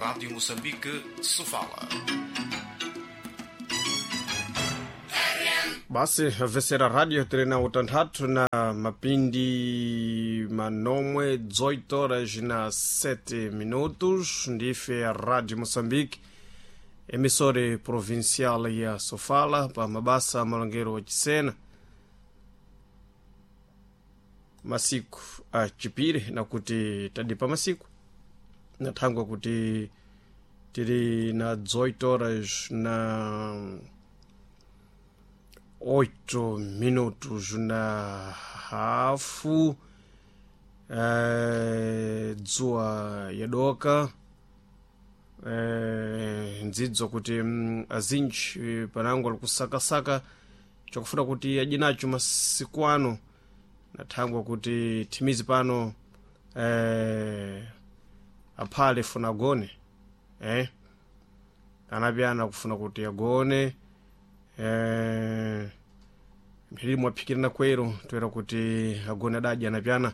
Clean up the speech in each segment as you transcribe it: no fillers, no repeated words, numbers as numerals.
Rádio Moçambique, Sofala. Basi vesera radio tiri na utanthatu na mapindi manomwe 18 horas na 7 minutos. Ndife ya Radio Moçambique, emissora provincial ya Sofala, pa mabasa malongero wa Chisena, masiku achipire nakuti tadipa masiku nathangwa kuti tiri na 18 horas na 8 minutos na hafu, dzuwa yadoka, ndzidzo kuti azinji panango alikusakasaka chakufuna kuti adye nacho masiku ano, nathangwa kuti thimizi pano, aphale funa agone, anapyana kufuna kuti agone, mphiri mwaphikirana kwero toera kuti agone adadya anapyana.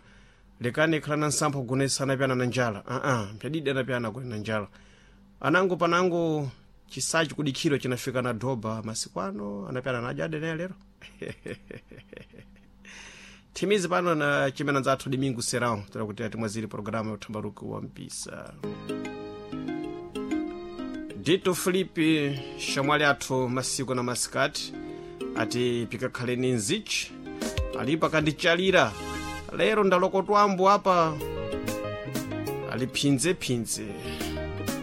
Lekani khala na nsampha kugonesa anapyana na njala. Aa, mphyadidi anapyana agone na njala. Anango panango chisachi kudikhiro chinafika na doba masiku ano anapyana nadya adeneya lero. Thimizi pano na chimena nzathu Domingo Serão toera kuti atimwaziri programa ya uthambaruki wa mpisa. Dito Filipe shamwali athu masiku na masikati ati pikakhaleni nzichi alipa kandichalira lero ndalokotwambo apa ali phinzephinze.